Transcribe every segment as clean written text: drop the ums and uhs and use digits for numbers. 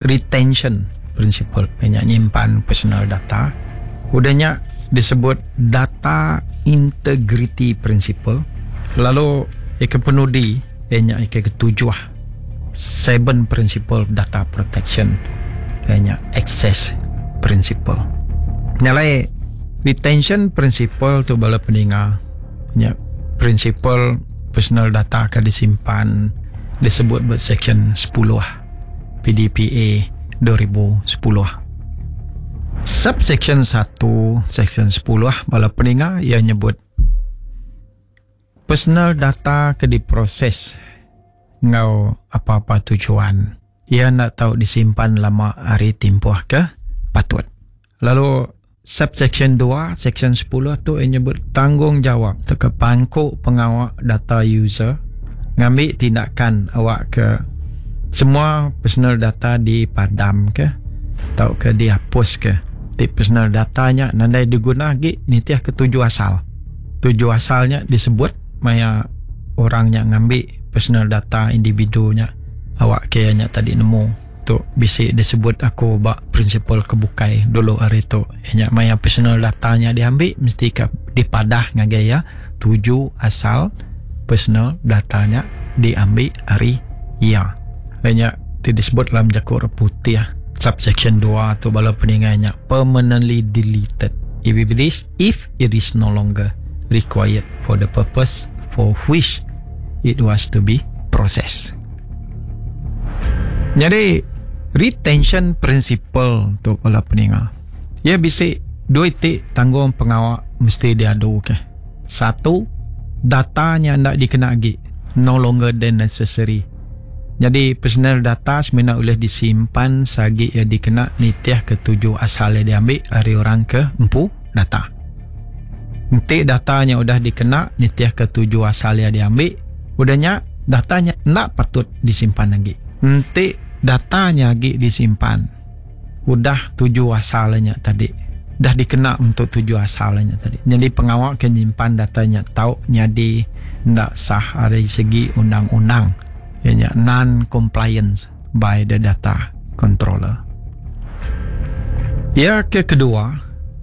Retention principle iya nya nyimpan personal data. Udah nya disebut data integrity principle lalu iya ke penudi iya nya iya ke ketujuh seven principle data protection iya nya access principle. Nya alai retention principle tu bala peninga nya principle personal data ke disimpan disebut ba section sepuluh. PDPA 2010. Subsection satu Section sepuluh bala peninga iya nyebut personal data ke diproses enggau apa-apa tujuan iya enda tau disimpan lama ari timpuh ke patut. Lalu subsection dua Section sepuluh tu iya nyebut tanggungjawab tauka pangku pengawa data user ngambi tindakan awakka semua personal data dipadamka tauka diapuska ti personal data nya nadai diguna agi nitihka tuju asal. Tuju asal nya disebut maya orang nya ngambi personal data individu nya awakka iya nya tadi nemu. Tu bisi disebut aku ba prinsipal ke bukai dulu ari tu iya nya maya personal data nya diambi mesti ka dipadah ngagai iya tuju asal personal data nya diambi ari iya. Iya nya ti disebut dalam jaku orang putih subsection dua tu bala peninga nya permanently deleted if it is if it is no longer required for the purpose for which it was to be processed. Nyadi retention principle tu bala peninga. Iya bisi dua iti tanggung pengawa mesti diadu ke. Satu, data nya enda dikena agi, no longer than necessary. Nyadi personal data semina ulih disimpan seagi iya dikena nitihka tuju asal iya diambi ari orang ke empu data. Enti data nya udah dikena nitihka tuju asal iya diambi, udah nya data nya enda patut disimpan agi. Enti data nya agi disimpan, udah tuju asal iya nya tadi dah dikena untuk tuju asal iya nya tadi. Nyadi pengawa ke nyimpan data nya tau nyadi enda sah ari segi undang-undang iya nya non-compliance by the data controller. Iya ke kedua,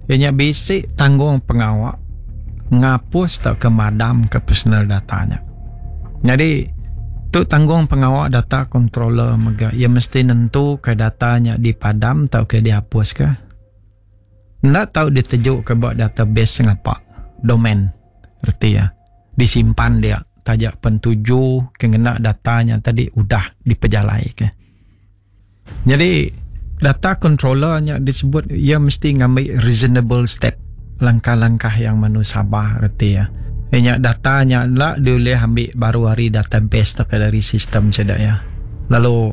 iya nya bisi tanggung pengawa ngapus tauka madamka personal data nya. Nyadi, tu tanggung pengawa data controller mega iya mesti nentuka data nya dipadam tauka diapuska. Enda tau ditejuka ba database sengapa, domain, reti iya disimpan dia taja pen tuju ke ngena data nya tadi udah dipejalaika. Nyadi, data controller nya disebut iya mesti ngambi reasonable step, langkah-langkah yang manusabah reti iya. Iya nya data nya enda diulih ambi baru ari database tauka dari sistem sida iya. Lalu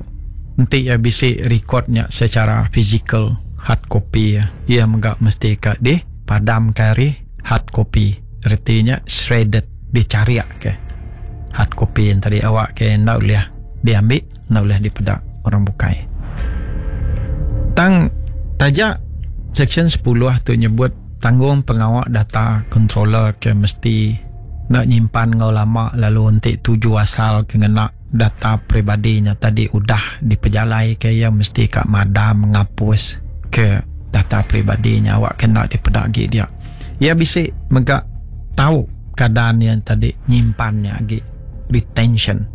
enti iya bisi record nya secara fizikal, hard copy iya, iya mega mesti ka dipadamka ari hard copy. Reti nya shredded, dicharik ke hard copy nya tadi awak ke enda ulih diambi. Enda ulih dipeda orang bukai. Tang taja Seksyen sepuluh tu nyebut tanggung pengawa data controller ke mesti enda nyimpan enggau lama lalu enti tuju asal ke ngena data peribadi nya tadi udah dipejalaika iya mesti ka madam ngapus ke data peribadi nya awak ke enda dipeda agi dia. Iya bisi mega tau keadaan iya tadi nyimpan nya agi retention.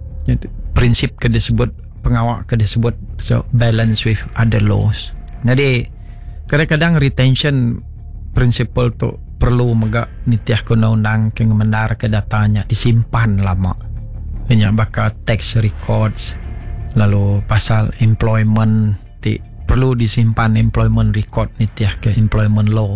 Prinsip ke disebut pengawa ke disebut so balance with other laws. Jadi kadang-kadang retention principle tu perlu mega nitih ke undang-undang ke ngemendar ke data nya disimpan lama. Nya baka tax records lalu pasal employment ti perlu disimpan employment record nitih ke employment law.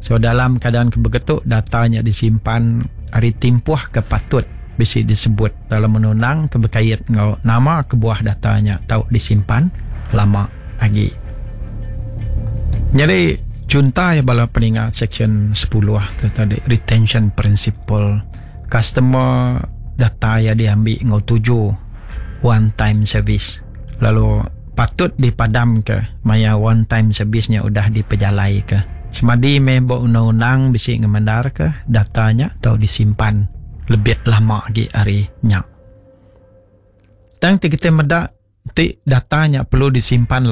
So dalam keadaan ke begitu data nya disimpan ari timpuh ke patut bisi disebut dalam undang-undang ke bekait enggau nama kebuah data nya tau disimpan lama agi. Nyadi chunta iya bala peninga section sepuluh tu tadi retention principle customer data iya diambi enggau tuju one time service lalu patut dipadamka maya one time service nya udah dipejalaika. Semadi meh ba undang-undang bisi ngemendarka data nya tau disimpan lebih lama agi ari nya. Tang ti kitai meda. Ti data nya perlu disimpan.